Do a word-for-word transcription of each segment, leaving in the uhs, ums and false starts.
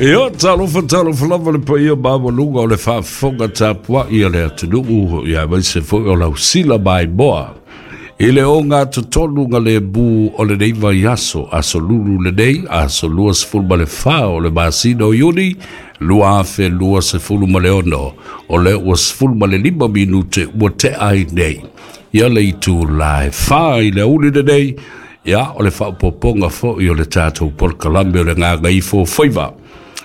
Ia, talofa, talofa lava le paia maualuga o le faafofoga tapuai a le atunuu, ia aemaise foi o lausila maimoa i le ogatotonu lemu o lenei vaiaso, aso Lulu lenei, aso luasefulu ma le fa o le masina o Iuni luafe luasefulu ma le ono. O lea ua sefulu ma le lima minute ua tea ai nei ia le itula e fa i le aoauli lenei. Ia, o le faaopoopoga foi o le tatou polokalame o le Gagaifo Faiva,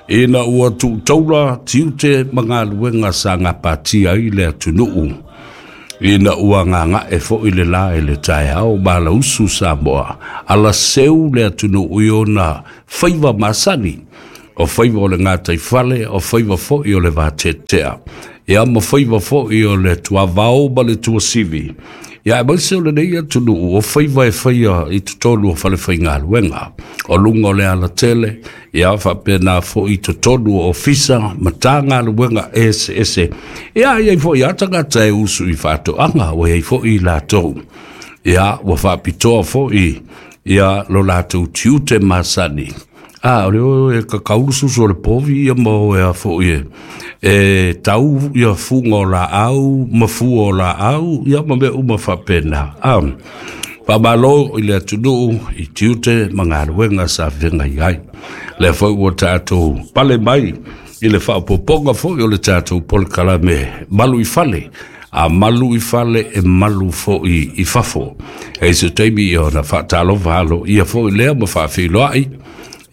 ina ua tuutaula tiute ma galuega sa gapatia ai le atunuu, ina ua gagae foi le la i le taeao malausu Samoa, alaseu le atunuu i ona faiva masani, o faiva o le gataifale, o faiva foi o le vateatea, ia ma faiva foi o le tuavao ma le tuasivi. Ia aemaise o lenei atunuu, o faiva e faia i totonu o falefaigaluega, o luga o le alatele, ia faapena foi i totonu o ofisa ma tagaluega eseese. Ia iai foi a tagata e usu i faatoaga, ua iai foi i latou ia ua faapitoa foi ia lo latou tiute masani. A o le o e kakaulu susu o le povi ia ma o e a foi e, e tau ia fuga o laau ma fua o laau ia ma mea uma faapena. A faamalo i le atunuu i tiute ma galuega sa feagai ai. Lea foi ua tatou pale mai i le faaopoopoga foi o le tatou polokalame Malu i Fale, a malu i fale e malu foi i fafo. E se taimi ia ona faatalofa aloaia foi lea ma faafeiloai,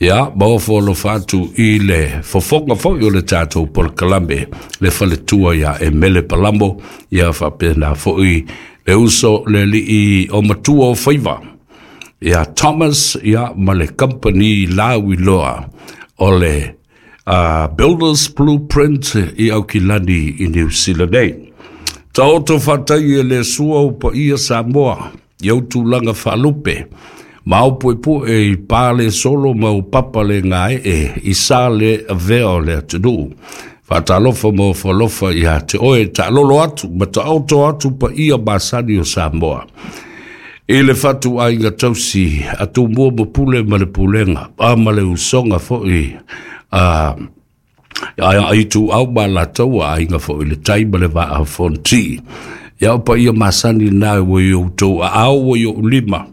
ia ma ofo alofa atu i le fofoga foi o le tatou polokalame, le faletua ia Emele Palamo, ia faapena foi le uso le alii o matua o faiva ia Thomas, ia ma le company lauiloa o le uh, Builders Blueprint i Aukilani i New Zealand nei. Taoto faatai e le Sua o paia Samoa, i ou tulaga faalupe, ma au puepue i pale solo ma o papa le gaee i sa le avea o le atunuu. Faatalofa ma ofo ia te oe, taalolo atu ma taoto atu paia masani o Samoa. I le fatuaiga tausi a Tumua ma Pule ma le pulega, a ma le usoga foi a Ituau ma Alataua, Aiga foi le Tai ma le Vaa o Fonoti. Ia o paia masani na ua i outou aao, ua i ou lima.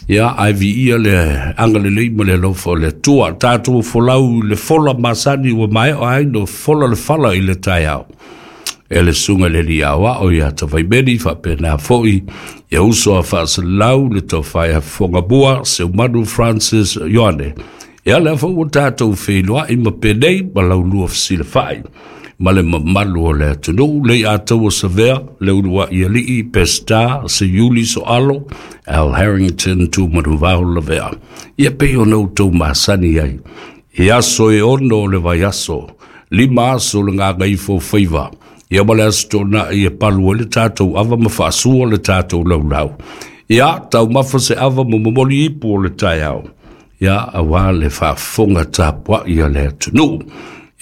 Ia, ae viia le agalelei ma le alofa o le Atua. Tatou folau i le fola masani ua maea ai no fola le fala i le taeao e le susuga le alii aoao ia Tavaimeli, faapena foi ia uso a faasalau le tofa ia Fogamua Seumanu Francis Ioane. Ia lea foi ua tatou feiloai ma penei ma laulua fesilafai ma le mamalu o le atunuu le Ataua Savea, le uluai alii Peseta se Iuli Soalo Al Harrington Tumanuvao Lavea. Ia pei ona outou masani ai i aso e ono o le vaiaso, lima aso le Gagaifo Faiva, ia ma le aso Toonai e palu ai le tatou ava ma faasua le tatou laulau. Ia taumafa se ava ma momoli ipu o le taeao, ia auā le faafofoga tapuai a le atunuu.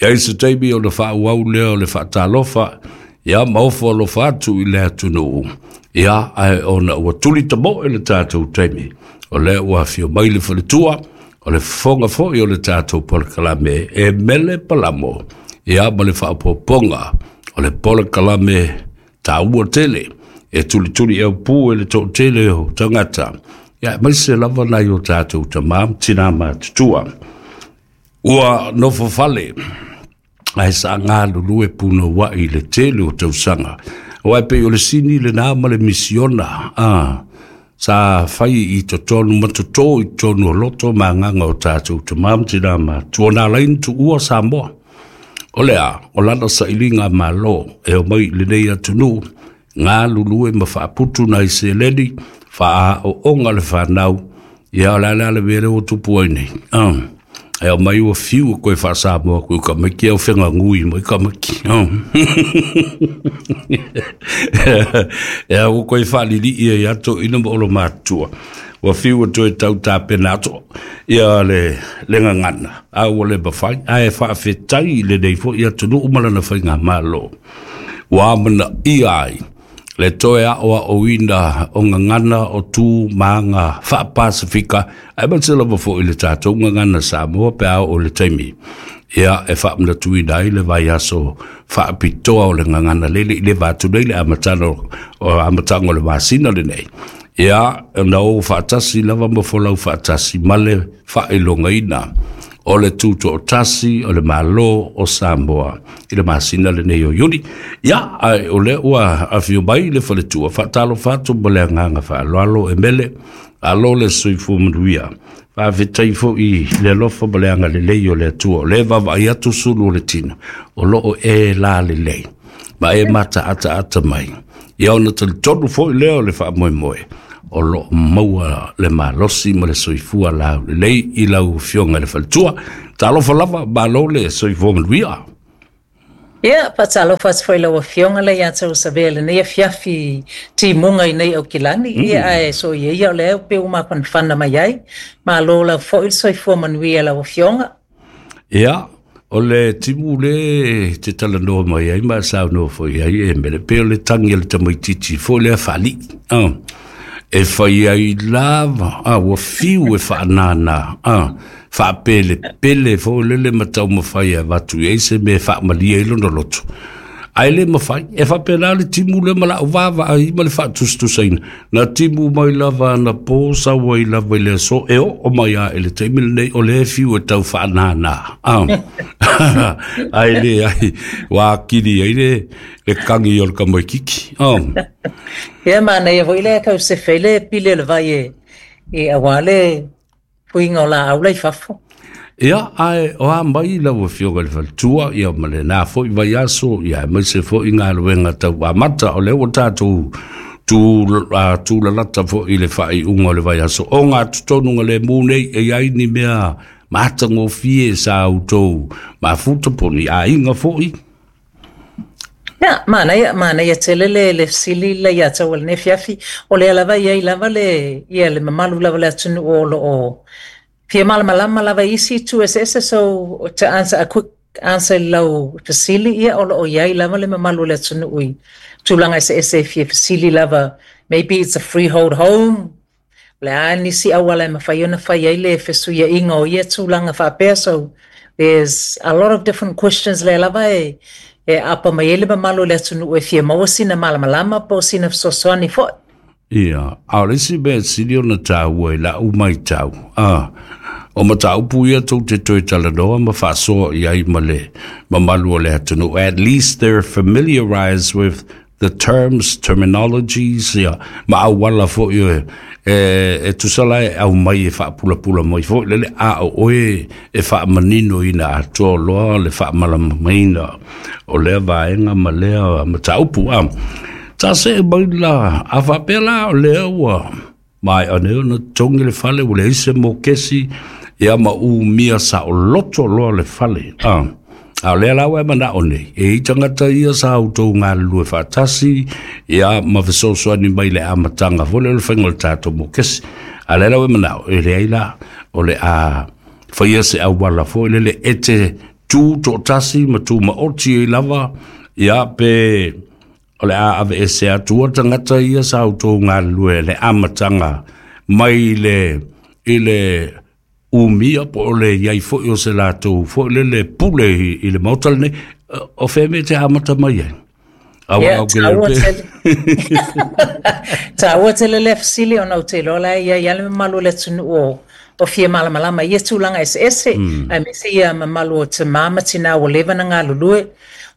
Ia i se taimi ona faaauau lea o le faatalofa, ia ma ofo alofa atu i le atunuu. Ia ae ona ua tuli tamoe le tatou taimi, o lea ua afio mai le faletua o le fofoga foi o le tatou polokalame e Mele Palamo, ia ma le faaopoopoga o le polokalame taua tele e tulituli aupu e le toatele o tagata, ia aemaise lava nai o tatou tamā ma tinā matutua ua nofo fale ae sa galulue punouai i le tele o tausaga. Aua e pei o le sini lenā ma le misiona a sa fai i totonu ma totō i totonu o loto ma agaga o tatou tamā ma tinā matua na ala ai ona tuua Samoa. O le a, o lana sailiga malo e omai i lenei atunuu, galulue ma faaputu nai seleni, faaooga le fanau. Ia o le a le a le mea lea ua tupu ai nei? Ah. E omai ua fiu e koe faasamoa ku ka maiki au fegagui mai ka maiki. E au koe faalilii ai ato ina ma olo matua. Ua fiu e toe tau tapena atu ia le, le gagana. A ua le mafai, ae faafetai i lenei foi atunuu ma lana faigamalo ua amanaia ai Le toe a'oa'oina o gagana o tu ma aga faapasifika aemaise lava fo'i le tatou gagana Samoa pe a oo le taimi ia e faamanatuina ai le vaiaso faapitoa o le gagana lele i le vatu nei le amataga o amataga o le masina lenei ia na ou faatasi lava ma folau faatasi ma le faailogaina o le tuto'atasi o le Mālō o Samoa i le masina lenei o Iuni. Ia, ae o lea ua afio mai le faletua, faatalofa atu ma le agaga faaaloalo e mele, alo le soifua manuia. Faafetai fo'i le alofa ma le agalelei o le Atua. O le vaavaai atu sulu o le tino, o loo e la lelei, ma e mataataata mai. Ia ona talitonu foi lea o le faamoemoe, o loo maua le malosi ma le soifua laulelei i lau afioga i le faletua. Talofa lava, malo le soifua manuia. Ia, faatalofa atu foi lau afioga le ia te usavea lenei afiafi timuga i nei Aukilani. Mm. Ia, ae so ia ia o lea pe ua mafanafana mai ai. Malo lava foi le soifua manuia lau afioga. Ia, o le timu le te talanoa mai ai ma saunoa foi ai e mele pe o le tagi a le tamaititi foi lea faalii. Ah. E fai ai lava, ah, ua fiu e faanānā, ah, faapelepele foi lele ma taumafai e avatu i ai se mea e faamalie ai lona loto. Ae le mafai, e faapena le timu lea ma la'u vaavaai ma le faatusatusaina. Na timu mai lava anapo sau ai lava i le aso e oo mai a i le taimi lenei o lea e fiu e tau faanānā. Ah. Ae leai, ua akili ai le, le kagi o le tamaititi. Ah. Ia, manaia foi le kau sefe le pili o le vai e, e auā le puiga o laau la i fafo. Ia, ae o a mai lau afioga i le faletua, ia ma lenā fo'i vaiaso, ia aemaise fo'i galuega tau amata, o lea ua tatou tu, uh, tulalata fo'i le faaiuga o le vaiaso. O gatotonuga lemu nei, e i ai ni mea matagofie sa outou mafuta po o ni aiga fo'i. Ia, manaia, manaia tele le, le fesili le ia tau o lenei afiafi. O lea lava i ai lava le, ia le mamalu lava o le atunuu o loo fia malamalama lava i isi itu eseese. So to answer a quick answer i lau fesili, ia o loo i ai lava le mamalu o le atunuu i tulaga eseese e fia fesili lava. Maybe it's a freehold home. O le a nisi auala e mafai ona fai ai le fesuiaiga o ia tulaga faapea. So there's a lot of different questions lea lava e e apa mai ai le mamalu o le atunuu e fia maua sina malamalama po o sina fesoasoani foi. Ia, a o le isi mea sili ona taua i la'u matau, ah, o mataupu ia tou te toe talanoa ma faasoa i ai ma le mamalu o le atunuu. At least they're familiarized with the terms, terminologies, ia, ma auala fo'i e, e, e tusa la e aumai e faapulapula mai foi lele a o oe e faamanino ina atoa loa le faamalamalamaina o lea vaega ma lea mataupu. Ah, ta se mai la, a faapea la o lea ua maea nei ona totogi le fale ua leai se mokesi ia ma umia saoloto loa le fale. Ah. A o lea la ua e manao nei, e i tagata ia sa outou galulue faatasi, ia ma fesoasoani mai le amataga foi lea o le faiga o le tatou mokesi. A lea la ua e manao, e leai la, o le a faia se auala foi lele e te tu toatasi ma tu maoti ai lava, ia pe o le a aveese atua tagata ia sa outou galulue le amataga mai le i le umia po o le iai fo'i o se latou fo'i lele pule i, i le maota lenei o fea mea te amata mai ai. Aua Ia, au ke leo taua pe. tele. Taua tele le fesili ona ou te iloa la e i ai lava le mamalu o le atunuu o o fia malamalama i ia tulaga eseese, Mm. aemaise ia mamalu o tamā ma tinā ua leva ona galulue.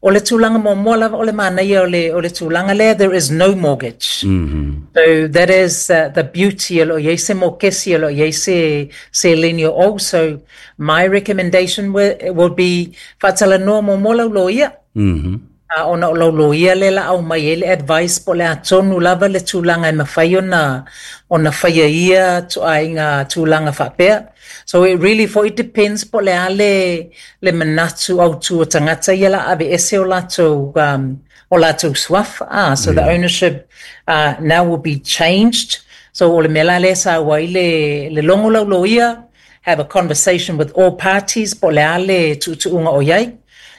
O le tulaga muamua lava o le manaia o le, o le tulaga lea, there is no mortgage. Mm-hmm. So that is uh, the beauty o loo i ai se mokesi, o loo i ai se seleni o ou. So my recommendation will, will be faatalanoa muamua lau loia. Mm-hmm. A ona o lau loia le la aumai ai le advice po o le a tonu lava le tulaga e mafai ona ona faia ia ituaiga tulaga faapea. So it really foi depends po o le a le le manatu autu o tagata ia la aveese o latou um, o latou suafa. Ah, so the Yeah. ownership uh, now will be changed. So o le mea la lea sa ai le le logo lau loia, have a conversation with all parties po o le a le tuutuuga o i ai.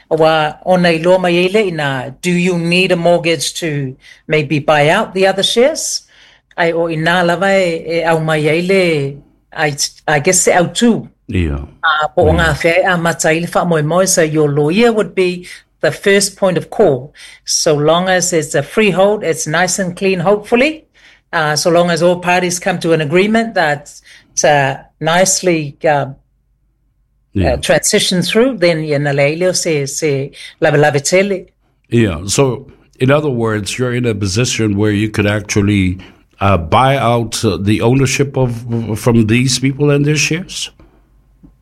Auā ona iloa mai ai lea i ina, do you need a mortgage to maybe buy out the other shares? Ae o i ina lava e, e aumai ai le, I, I guess se autū. Ia. Uh, po o gafea e amata ai le faamoemoe. So your lawyer would be the first point of call. So long as it's a freehold, it's nice and clean, hopefully. Uh, so long as all parties come to an agreement that uh, nicely uh, Yeah. uh, transition through, then ia na leai lea o se, se lavelave tele. Yeah. So, in other words, you're in a position where you could actually uh, buy out uh, the ownership of from these people and their shares.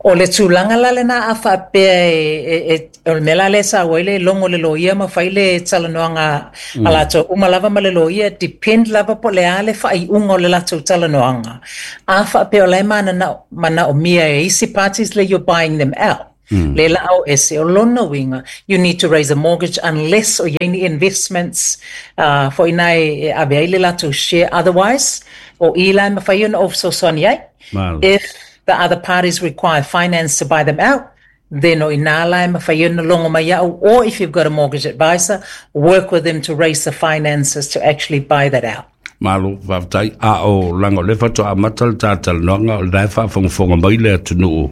O le tulaga la lena a faapea e, e, e, o le mea la lea sa ua ai le logo le loia ma fai le talanoaga a latou uma lava ma le loia, depend lava po o le a le faaiuga o le latou talanoaga. A faapea o la e mananao manaomia e isi parties le you're buying them out. Mm. Le la au ese o lona uiga, you need to raise a mortgage unless o iai ni investments uh, foi ina e, e ave ai le latou share otherwise, o i la e mafai ona ou fesoasoani ai. Malo. If the other parties require finance to buy them out, then o ina la e mafai ona logo mai au, or if you've got a mortgage advisor, work with them to raise the finances to actually buy that out. Malo, faafetai. A o laga o lea faatoa amata le tatalanoaga o lena e faafogafoga mai le atunuu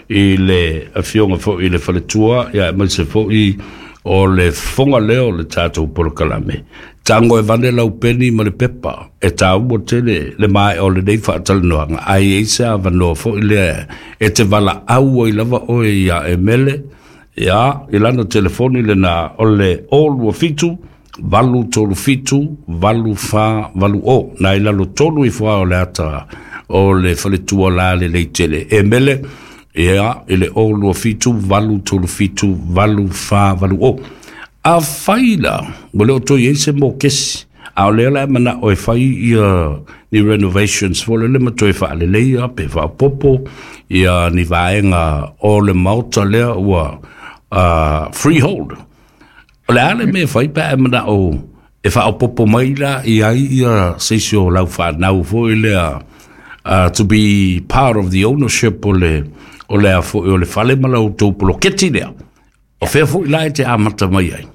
i le afioga foi i le faletua ia aemaise foi o le fofoga lea o le tatou polokalame. Tago e vane lau peni ma le pepa e taua tele le maea o lenei faatalanoaga ae i ai se avanoa foi lea e te valaau ai lava oe ia Emele ia i lana telefoni lena o le o lua fitu valu tolu fitu valu fa valu o na i lalo tolu ifo lava o le ata o le faletua la lelei tele Emele ia i le o lua fitu valu tolu fitu valu fa valu o. Afai la ua le o toe i ai se mokesi a o lea la e manao e fai ia ni renovations foi lele ma toe faaleleia pe faapopo ia ni vaega o le maota lea ua uh, freehold. O le a le mea e fai pe a e manao e faaopopo mai la i ai ia se isi o lau fanau foi lea uh, to be part of the ownership o le o lea foi o le fale ma la outou poloketi lea. O fea foi la e te amata mai ai?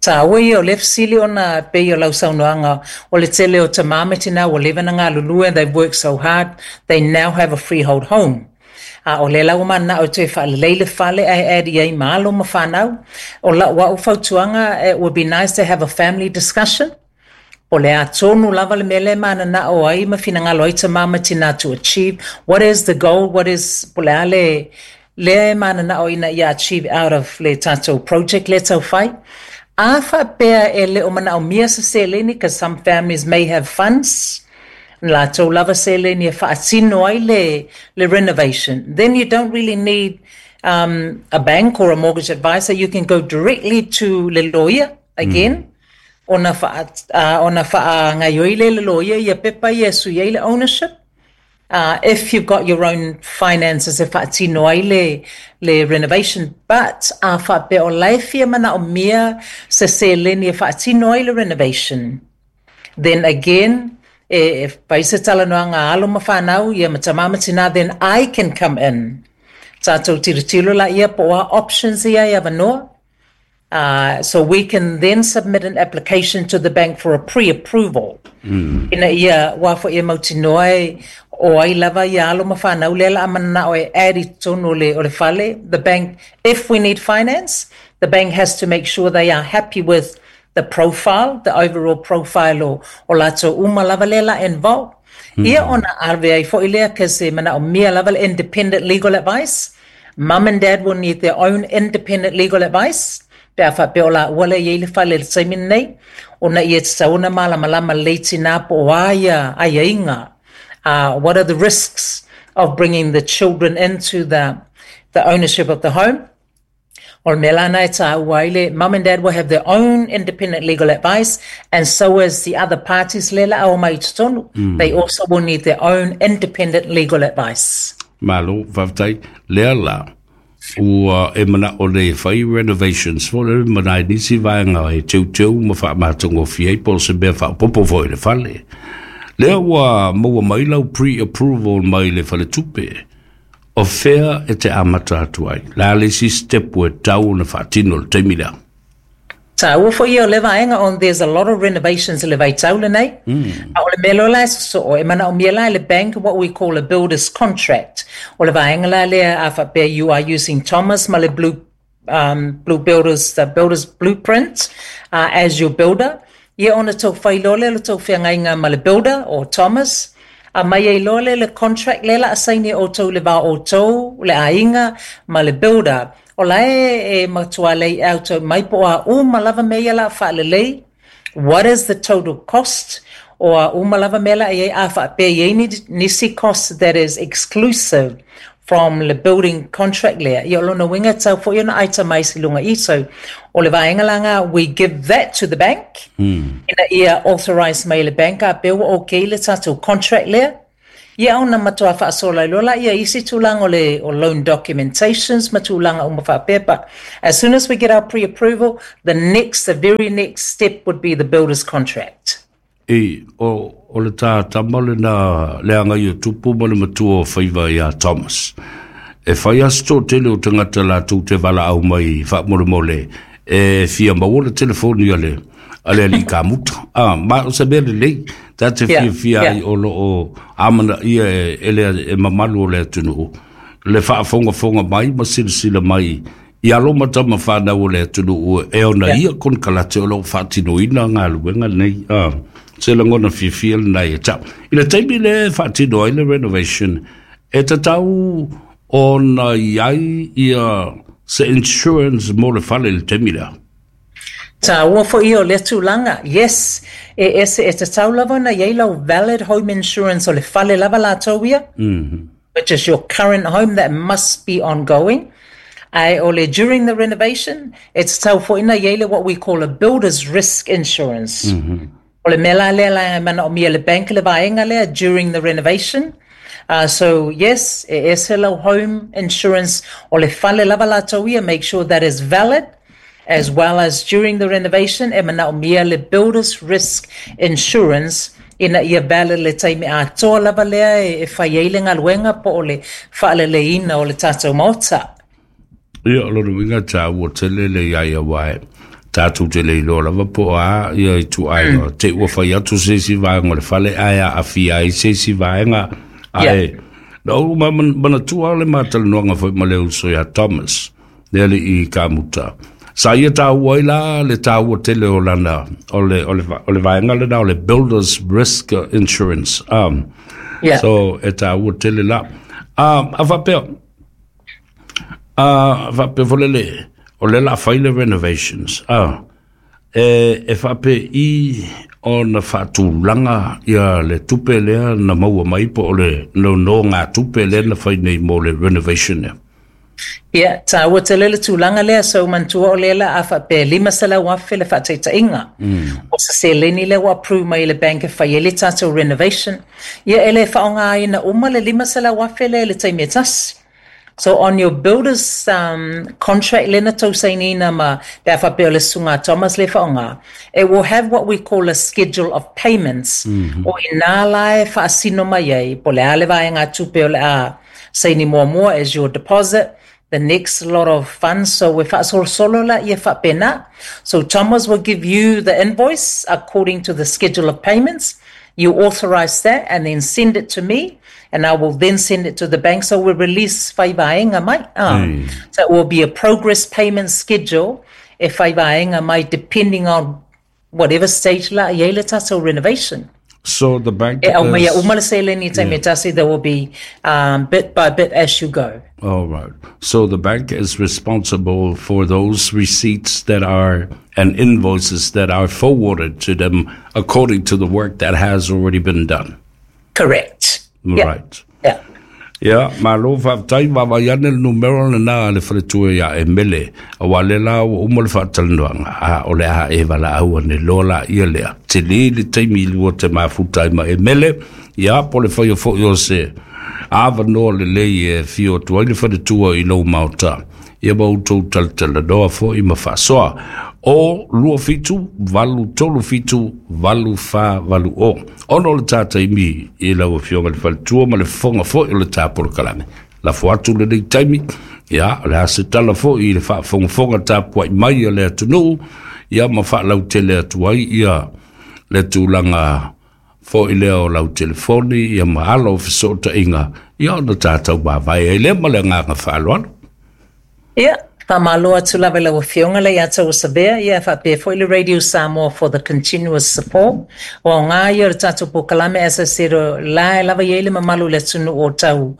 Taua ia o le fesili ona pei o lau saunoaga o le tele o tamā ma tinā ua leva ona galulue and they've worked so hard, they now have a freehold home. A o lea la ua mananao e toe faalelei le fale ae add i ai ma alo ma fanau. O lau au fautuaga, it would be nice to have a family discussion. O le a tonu lava le mea lea e mananao ai ma finagalo ai tamā ma tinā to achieve. What is the goal? What is, po o le a le lea e mananao ina ia achieve out of le tatou project lea taufai. A faapea e le o manaomia se seleni, because some families may have funds, latou lava seleni e faatino ai le, le renovation. Then you don't really need um, a bank or a mortgage advisor. You can go directly to le lawyer again. Ona faa, uh, ona faagaoioi lea e le loia ia pepa ia e sui ai le ownership. Uh, if you've got your own finances e faatino ai le, le renovation. But a faapea o la e fia manaomia se seleni e faatino ai le renovation. Then again, e, e fai se talanoaga a alo ma fanau ia ma tamā ma tinā, then I can come in. Tatou tilotilo laia po o a options ia e avanoa. Uh, so we can then submit an application to the bank for a pre-approval. Mm. Ina ia auā foi e mautinoa e o ai lava ia alo ma fanau lea o le a mananao e add i totonu o le, o le fale. The bank, if we need finance, the bank has to make sure they are happy with the profile, the overall profile o, o latou uma lava lea o le a involve. Mm. Ia ona ave ai foi lea cause e manaomia lava le independent legal advice. Mum and dad will need their own independent legal advice. Pe a faapea o laua lea e i ai le fale i le taimi lenei, ona ia tatau ona malamalama lelei tinā po o a ia aiaiga. Uh, what are the risks of bringing the children into the, the ownership of the home? O le mea la lena e taua ai le mum and dad will have their own independent legal advice and so as the other parties lea o le a omai i totonu. Mm. They also will need their own independent legal advice. Malo, faafetai. Lea la, ua e manao nei e fai renovations foi lele ma nai nisi vaega e teuteu ma faamatagofie ai po o se mea faaopoopo foi i le fale. Lea ua maua mai lau pre-approval mai le faletupe. O fea e te amata atu ai? La le isi step ua tatau ona faatino i le taimi lea. Taua foi ia o le vaega on there's a lot of renovations i le vaitau lenei. A o le mea loa la e sosoo, e manaomia la e le bank what we call a builder's contract. O le vaega la lea a faapea you are using Thomas ma le blue, um, blue builders, the builder's blueprint uh, as your builder. Ia ona tou fai loa lea o le tou feagaiga ma le builder o Thomas, aumai ai loa lea le contract lea o le a saini e outou i le va o outou, le aiga ma le builder. O la e e matua lay out mai po o a uma lava mea ia o le a faalelei, what is the total cost, o a uma lava mea o le a i ai, a faapea e i ai nisi cost that is exclusive from le building contract lea, ia o lona uiga e tatau foi ona itemize i luga i i. So o le vaega la lena, we give that to the bank, ina ia authorize mai e le bank a pea ua okay le tatou contract lea. Ia ona matua faasola ai loa lea isi tulaga o le o loan documentations ma tulaga uma faapea. But as soon as we get our pre-approval, the next, the very next step would be the builder's contract. E, o, o le tā tama lena le agai o tupu ma le matua o faiva iā Thomas. E fai lava si toatele o tagata latou te valaau mai faamolemole e fia maua le telefoni a le a le alii kamuta. Ah, ma o se mea lelei, ta te fiafia ai o lo o amanaia e, e le e mamalu o le atunuu le faafogafoga mai ma silasila mai i alo ma tama fanau o le atunuu e ona ia konekarate o lo o faatinoina galuega nei. Ah, se lagona fiafia lena ia te au. I le taimi lea e faatino ai le renovation, e tatau ona i ai ia se insurance mo le fale i le taimi lea. Taua foi ia o lea tulaga. Yes, e ese, e tatau lava ona i ai lau valid home insurance o le fale lava latou ia, which is your current home that must be ongoing. Ae o le during the renovation, e tatau foi ona i ai le what we call a builder's risk insurance. O le mea la lea la e manaomia e le bank le vaega lea during the renovation. Uh, so yes, e ese lau home insurance o le fale lava latou ia, make sure that is valid, as well as during the renovation e manaomia le builder's risk insurance ina ia valid le taimi atoa lava lea e, e fai ai le galuega po o le faaleleiina o le tatou maota. Ia, o lona uiga e taua tele le i ai aua e tatou te le iloa lava po o a ia ituaiga te ua fai atu se isi vaega o le fale ae aafia ai se isi vaega ae na ou manatua le matalanoaga foi ma le uso ia Thomas le alii kamuta sa ia taua ai la le taua tele o lana o le o le o le vaega lena o le builders risk insurance um Yeah. So e taua tele la um a faapea a faapea foi le o le la fai le renovations ah e e faapei ona faatulaga ia le tupe lea na maua mai po o le nonogatupe lea na fai nei mo le renovation lea. Ia, taua tele le tulaga lea, so manatua o lea la a faapea lima selau afe le faataitaiga. O se seleni lea ua approve mai e le bank e fai ai le tatou renovation. Ia e le faaaogaina uma le lima selau afe lea i le taimi e tasi. So on your builder's um, contract lea na tou sainiina ma pe a faapea o le susuga a Thomas le faaaoga, it will have what we call a schedule of payments. O i ina la e faasino mai ai, po o le a le vaegatupe o le a saini muamua as your deposit, the next lot of funds. So e faasolosolo laia faapena. So Thomas will give you the invoice according to the schedule of payments. You authorize that and then send it to me, and I will then send it to the bank. So we release fai vaega mai. Ah. So it will be a progress payment schedule e fai vaega mai depending on whatever stage la i ai le tatou renovation. So the bank E aumaia is uma le seleni i taimi e tasi, there will be um, bit by bit as you go. All right. So the bank is responsible for those receipts that are and invoices that are forwarded to them according to the work that has already been done. Correct. Yeah. Right. Yeah. Ia, malo faafetai, vaavaai ane le numera lena a le faletua iā Emele, auā lea la ua uma le faatalanoaga, a o le a e valaau ane loa laia lea. Tele le taimi i lua te mafuta ai ma Emele, ia, po o le faia foi o se avanoa lelei e afio atu ai le faletua i lou maota, ia ma outou talatalanoa foi ma faasoa. O lua fitu, valu tolu fitu, valu fa valu o. Ona o le tā taimi i lau afioga i le faletua ma le fofoga foi o le tā polokalame. Lafo atu lenei taimi, ia, o le a se tala fo'i i le faafogafoga tapua'i mai a le atunuu, ia ma faalautele atu ai ia le tulaga fo'i lea o lau telefoni, ia ma ala o fesootaiga, ia ona tatou mavae ai lea ma le agaga faaaloalo. Ia, faamalo atu lava i lau Afioga Leiataua Savea, ia faapea foi le Radio Samoa for the continuous support. O aoga ia o le tatou polokalame, as I said, o la e lava i ai le mamalu o le atunuu o tau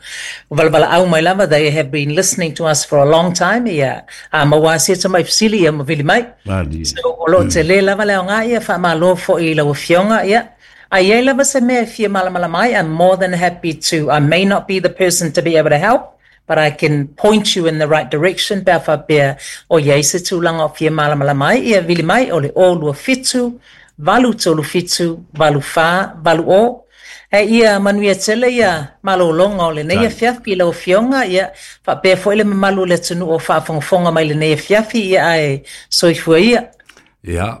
valaau mai lava. They have been listening to us for a long time. Ia, a maua se tamai fesili, ia ma vili mai. Malie. So, o lo o tele lava le aoga, ia faamalo foi i lau Afioga, ia. A i ai lava se mea e fia malamalama ai, I'm more than happy to. I may not be the person to be able to help, but I can point you in the right direction pe a faapea o i ai se tulaga o fia malamalama ai, ia vili mai o le o lua fitu, valu tolu fitu, valu fa, valu o. E ia manuia tele ia malologa o lenei Tai. afiafi i lau Afioga, ia faapea foi le mamalu o le atunuu o faafogafoga mai lenei afiafi, ia ae soifua ia. Ia.